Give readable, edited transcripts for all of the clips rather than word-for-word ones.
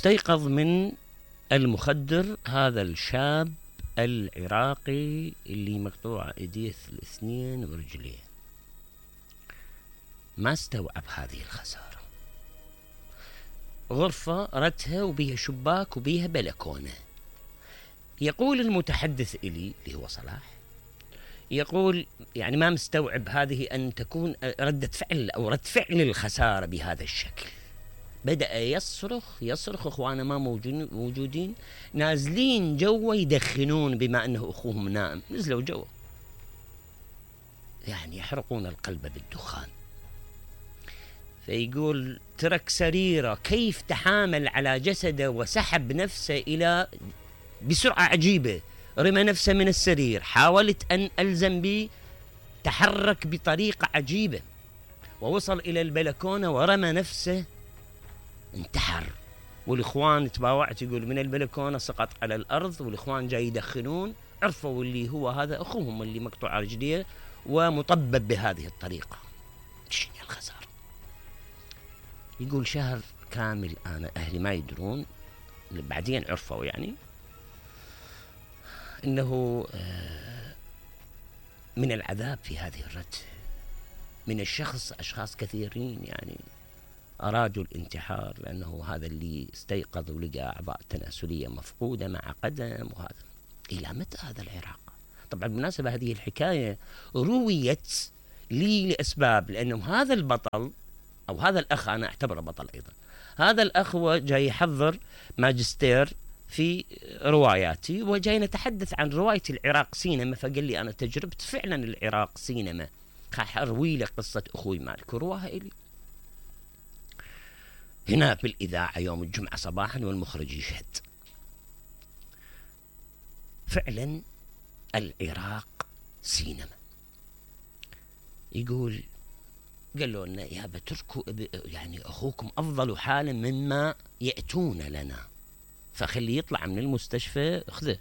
استيقظ من المخدر هذا الشاب العراقي اللي مقطوع ايديه الاثنين ورجليه. ما استوعب هذه الخسارة. غرفة رتها وبيها شباك وبيها بلكونة. يقول المتحدث إلي اللي هو صلاح، يقول يعني ما مستوعب هذه أن تكون ردة فعل أو رد فعل الخسارة بهذا الشكل. بدأ يصرخ أخوانا ما موجودين، نازلين جوا يدخنون بما أنه أخوهم نائم، نزلوا جوا يعني يحرقون القلب بالدخان. فيقول ترك سريره، كيف تحامل على جسده وسحب نفسه إلى بسرعة عجيبة، رمى نفسه من السرير، حاولت أن ألزم به، تحرك بطريقة عجيبة ووصل إلى البلكونة ورمى نفسه، انتحر. والإخوان تباوعت، يقول من البلكونة سقط على الأرض، والإخوان جاي يدخنون، عرفوا اللي هو هذا أخوهم اللي مقطوع رجليه ومطبب بهذه الطريقة. شنو الخسارة؟ يقول شهر كامل أنا أهلي ما يدرون، بعدين عرفوا يعني إنه من العذاب في هذه الرتة من الشخص. أشخاص كثيرين يعني أرادوا الانتحار لأنه هذا اللي استيقظ ولقى أعضاء تناسلية مفقودة مع قدم. وهذا إلى متى هذا العراق؟ طبعا بالمناسبة هذه الحكاية رويت لي لأسباب، لأنه هذا البطل أو هذا الأخ أنا أعتبره بطل أيضا، هذا الأخ هو جاي يحضر ماجستير في رواياتي وجاي نتحدث عن رواية العراق سينما، فقال لي أنا تجربت فعلا العراق سينما، أروي لك قصة أخوي مالك ورواها إلي هنا بالإذاعة يوم الجمعة صباحا والمخرج يشهد. فعلا العراق سينما. يقول قالوا لنا يا بتركوا يعني أخوكم أفضل حالا مما يأتون لنا، فخليه يطلع من المستشفى اخذه.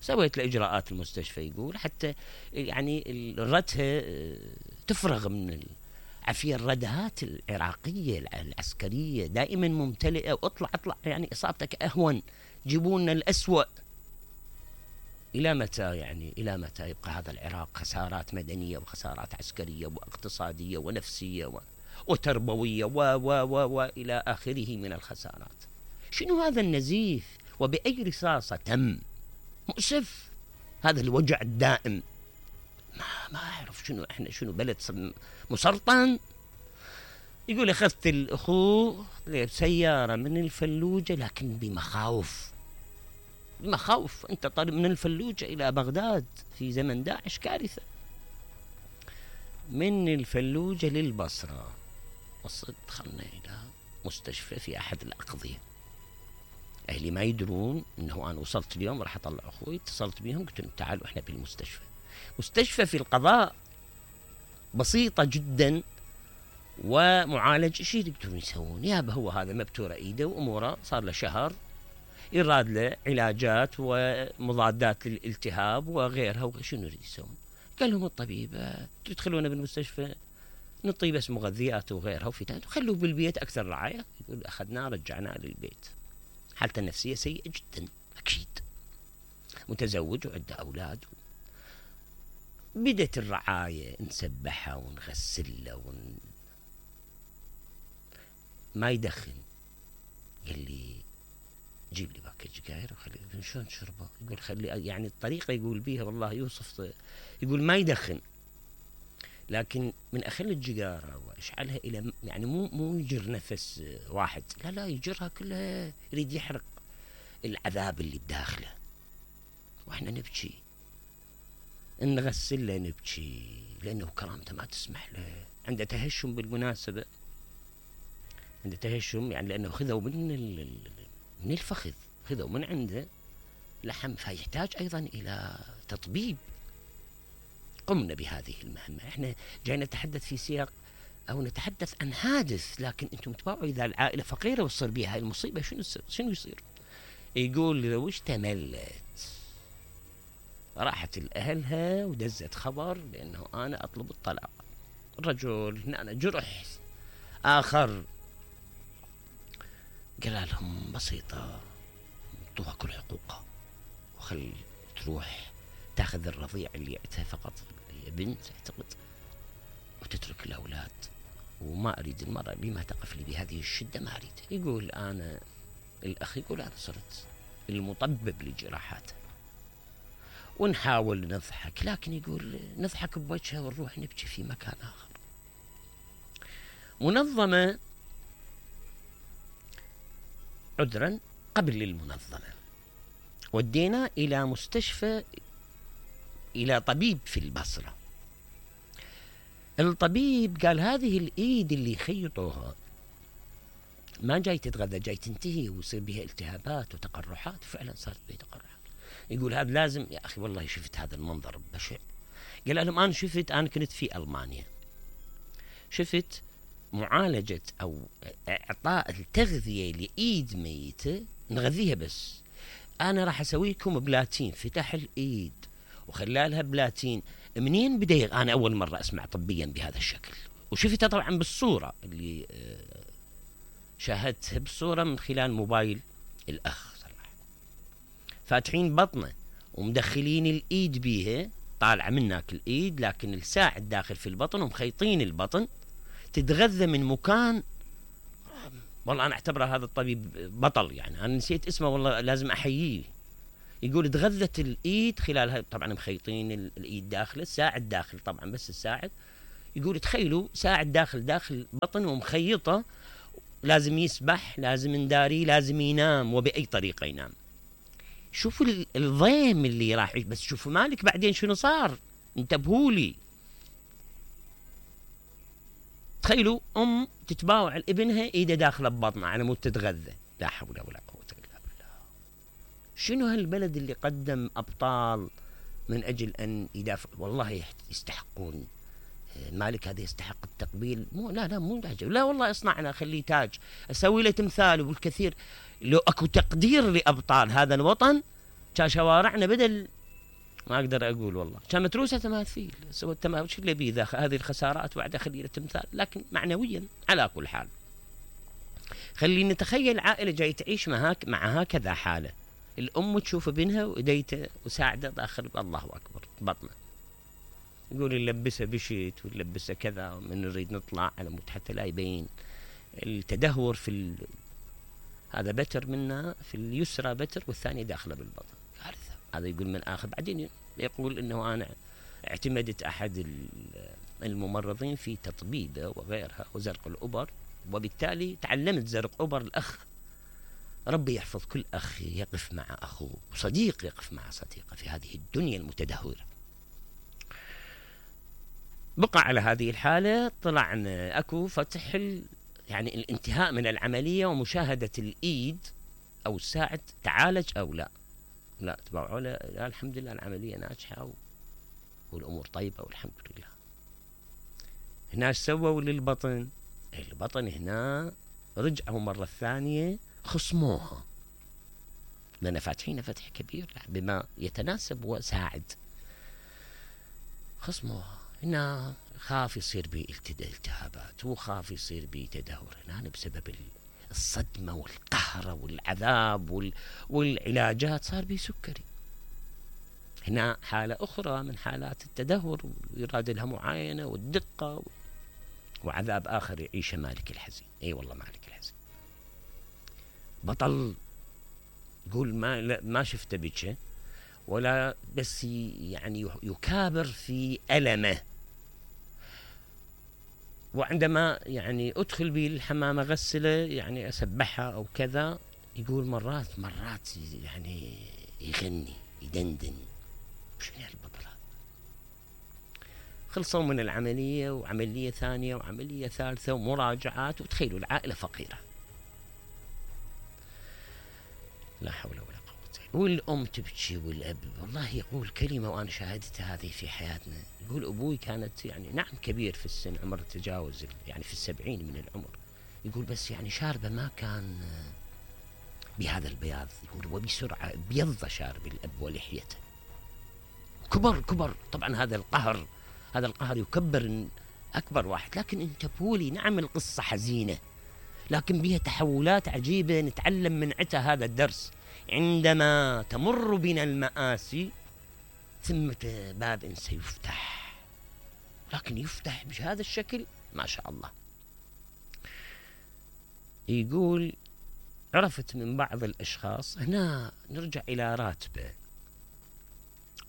سويت له إجراءات المستشفى يقول حتى يعني الرتها تفرغ من عفية. الردهات العراقية العسكرية دائما ممتلئة، واطلع يعني إصابتك أهون، جيبونا الأسوأ. إلى متى يعني إلى متى يبقى هذا العراق خسارات مدنية وخسارات عسكرية واقتصادية ونفسية وتربوية وإلى آخره من الخسارات؟ شنو هذا النزيف؟ وبأي رصاصة تم؟ مؤسف هذا الوجع الدائم. ما أعرف شنو إحنا، شنو بلد مسرطن. يقول أخذت الأخوه بسيارة من الفلوجة لكن بمخاوف. أنت طالب من الفلوجة إلى بغداد في زمن داعش كارثة. من الفلوجة للبصرة دخلنا إلى مستشفى في أحد الأقضية. أهلي ما يدرون أنه أنا وصلت اليوم راح أطلع أخوي، اتصلت بهم قلت لهم تعالوا إحنا بالمستشفى. مستشفى في القضاء بسيطة جدا ومعالج. شيء يقدرون يسوون؟ يابا هو هذا مبتورة إيده وأموره صار له شهر، يراد له علاجات ومضادات للالتهاب وغيرها. شنو يريد يسوون؟ قال لهم الطبيب تدخلونه بالمستشفى نعطيه بس مغذيات وغيرها وفيتامين، خلوه بالبيت أكثر رعاية. يقول أخذناه رجعناه للبيت، حالته النفسية سيئة جدا أكيد، متزوج وعنده أولاد. بدت الرعاية نسبحها ونغسلها ما يدخن. قال لي جيب لي باكج سجاير وخلي. شلون تشربه؟ يقول خلي يعني الطريقة يقول بيها والله يوصف، يقول ما يدخن لكن من أخل السجارة وإشعلها إلى يعني مو يجر نفس واحد، لا يجرها كلها، يريد يحرق العذاب اللي بداخله. وإحنا نبكي نغسل له نبكي لأنه كرامته ما تسمح له. عنده تهشم بالمناسبة، عنده تهشم يعني لأنه خذوا من الفخذ، خذوا من عنده لحم، فيحتاج أيضا إلى تطبيب. قمنا بهذه المهمة. احنا جاي نتحدث في سياق أو نتحدث عن حادث، لكن أنتم تباعوا إذا العائلة فقيرة وتصير بها هاي المصيبة شنو يصير؟ يقول لو اشتملت راحت لأهلها ودزت خبر بأنه أنا أطلب الطلاق. الرجل هنا جرح آخر قال لهم بسيطة، اعطوها كل حقوقها وخل تروح تاخذ الرضيع اللي عندها فقط، هي بنت اعتقد، وتترك الاولاد، وما اريد المرأة اللي ما تقف لي بهذه الشدة ما اريد. يقول انا الاخ يقول انا صرت المطبب لجراحاته، ونحاول نضحك، لكن يقول نضحك بوجهه ونروح نبكي في مكان اخر. منظمة عذرا قبل المنظمة ودينا إلى مستشفى، إلى طبيب في البصرة. الطبيب قال هذه الإيد اللي خيطوها ما جاي تتغذى، جاي تنتهي ويصير بها التهابات وتقرحات. فعلا صارت بها تقرحات. يقول هذا لازم، يا أخي والله شفت هذا المنظر بشع. قال لهم أنا شفت، أنا كنت في ألمانيا، شفت معالجة أو إعطاء التغذية لإيد ميتة، نغذيها بس. أنا راح أسويكم بلاتين، فتح الإيد وخلالها بلاتين. منين بدأ؟ أنا أول مرة أسمع طبيا بهذا الشكل، وشفتها طبعا بالصورة اللي شاهدتها بالصورة من خلال موبايل الأخ صراحة. فاتحين بطنه ومدخلين الإيد بيها، طالعة منك الإيد لكن الساعد داخل في البطن، ومخيطين البطن تتغذى من مكان. والله أنا أعتبره هذا الطبيب بطل، يعني أنا نسيت اسمه والله لازم أحييه. يقول تغذت الإيد خلالها، طبعا مخيطين الإيد داخل، الساعد داخل طبعا بس الساعد. يقول تخيلوا ساعد داخل بطن ومخيطة، لازم يسبح، لازم نداري، لازم ينام، وبأي طريقة ينام. شوفوا الضيم اللي راح، بس شوفوا مالك بعدين شنو صار، انتبهوا لي. تخيلوا أم تتباوع لابنها إيده داخلة ببطنها على مود تتغذى. لا حول ولا قوة إلا بالله. شنو هالبلد اللي قدم أبطال من أجل أن يدافع؟ والله يستحقون. مالك هذا يستحق التقبيل. مو تاج، لا والله اصنعنا، خليه تاج، أسوي له تمثال والكثير. لو أكو تقدير لأبطال هذا الوطن كان شوارعنا بدل ما أقدر أقول والله كان متروسة تماثيل. سوى التماثيل شو اللي بيه هذه الخسارات وبعد خلي له تمثال، لكن معنويا على كل حال. خلينا نتخيل عائلة جاي تعيش مع هكذا حالة، الأم تشوف ابنها وإيديته وساعده داخل، الله أكبر، بطنه. يقول نلبسه بشيت ونلبسه كذا، من نريد نطلع على مود حتى لا يبين التدهور في هذا بتر منا في اليسرى بتر، والثاني داخله بالبطن، كارثة. هذا يقول من آخر. بعدين يقول إنه أنا اعتمدت أحد الممرضين في تطبيبه وغيرها وزرق الأبر، وبالتالي تعلمت زرق أبر. الأخ ربي يحفظ كل أخ يقف مع أخوه، وصديق يقف مع صديقه في هذه الدنيا المتدهورة. بقى على هذه الحالة، طلعنا أكو فتح يعني الانتهاء من العملية ومشاهدة الإيد أو الساعد تعالج أو لا تبعوا لا الحمد لله العملية ناجحة والأمور طيبة والحمد لله. هنا سووا للبطن؟ البطن هنا رجعوا مرة ثانية خصموها، لأن فاتحين فتح كبير بما يتناسب وساعد. خصموها هنا، خاف يصير بي التهابات، وخاف يصير بي تدهور هنا بسبب الصدمة والقهرة والعذاب والعلاجات، صار بي سكري. هنا حالة أخرى من حالات التدهور، ويراد لها معاينة والدقة، وعذاب آخر يعيشه مالك الحزين. أي والله مالك الحزين بطل. يقول ما شفته بيتشه ولا بس يعني يكابر في ألمه. وعندما يعني أدخل به الحمام أغسله، يعني أسبحها أو كذا، يقول مرات يعني يغني يدندن. شنو هالبطل هذا؟ خلصوا من العملية، وعملية ثانية وعملية ثالثة ومراجعات، وتخيلوا العائلة فقيرة، لا حول ولا قوة. والأم تبكي والأب. والله يقول كلمة وأنا شاهدتها هذه في حياتنا. يقول أبوي كانت يعني نعم كبير في السن، عمر تجاوز يعني في 70 من العمر. يقول بس يعني شاربه ما كان بهذا البياض. يقول وبسرعة بيض شارب الأب ولحيته، كبر. طبعا هذا القهر يكبر أكبر واحد. لكن انتبهوا لي، نعم القصة حزينة، لكن بها تحولات عجيبة نتعلم من عتها هذا الدرس. عندما تمر بنا المآسي ثمة باب سيفتح، لكن يفتح بهذا الشكل ما شاء الله. يقول عرفت من بعض الأشخاص، هنا نرجع إلى راتبه.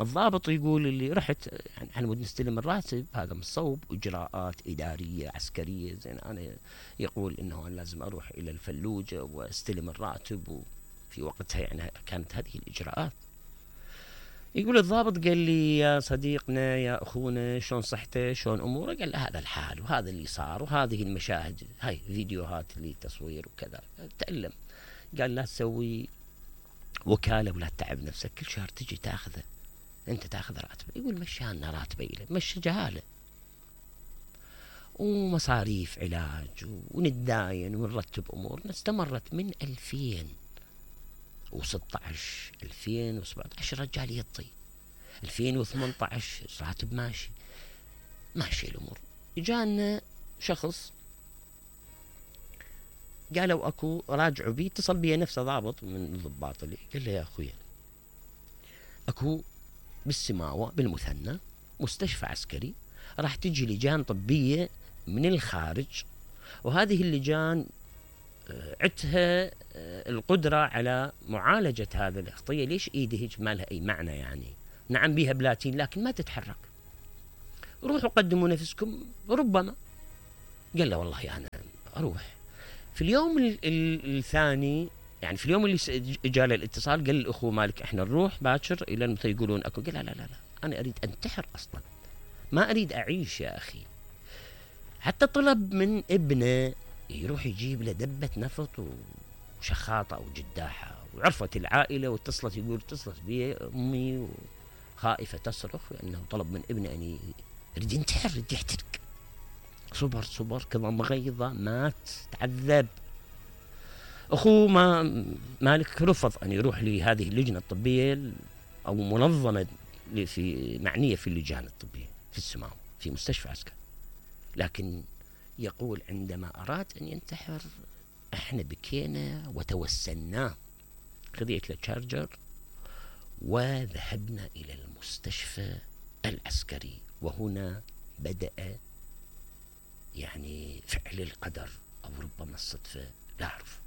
الضابط يقول اللي رحت يعني على مود نستلم الراتب، هذا من صوب إجراءات إدارية عسكرية. زين أنا يقول إنه أنا لازم أروح إلى الفلوجة واستلم الراتب، وفي وقتها يعني كانت هذه الإجراءات. يقول الضابط قال لي يا صديقنا يا أخونا شلون صحته شلون أموره؟ قال له هذا الحال وهذا اللي صار وهذه المشاهد، هاي فيديوهات لتصوير وكذا. تألم. قال لا تسوي وكالة ولا تتعب نفسك، كل شهر تجي تاخذه، انت تاخذ راتبه. يقول مشانا راتبه إليه، مشى جهاله ومصاريف علاج ونداين ونرتب امورنا. استمرت من 2016 2017 رجال يطي، 2018 راتب ماشي الامور. جانا شخص قالوا اكو راجعوا بي، اتصل بي نفسه ضابط من الضباط اللي، قال له يا اخويا اكو بالسماوة بالمثنى مستشفى عسكري راح تجي لجان طبية من الخارج، وهذه اللجان عتها القدرة على معالجة هذا الخطية. ليش ايده هيك ما لها اي معنى يعني؟ نعم بيها بلاتين لكن ما تتحرك، روحوا قدموا نفسكم ربما. قال له والله انا اروح. في اليوم الثاني يعني في اليوم اللي جاء الاتصال قال الاخوه مالك احنا نروح باكر الى متى يقولون اكو. قال لا انا اريد انتحر اصلا، ما اريد اعيش يا اخي. حتى طلب من ابنه يروح يجيب له دبة نفط وشخاطة او جداحة، وعرفت العائلة واتصلت، يقول اتصلت بي امي وخائفة تصرخ لانه طلب من ابنه ان يريد ينتحر يريد يحترق. صبر كظم غيظة مات تعذب. أخوه مالك رفض أن يروح لهذه اللجنة الطبية أو منظمة معنية في اللجان الطبية في السماوة في مستشفى عسكري. لكن يقول عندما أراد أن ينتحر احنا بكينا وتوسلناه، خذيت له تشارجر وذهبنا إلى المستشفى العسكري. وهنا بدأ يعني فعل القدر أو ربما الصدفة لا أعرف.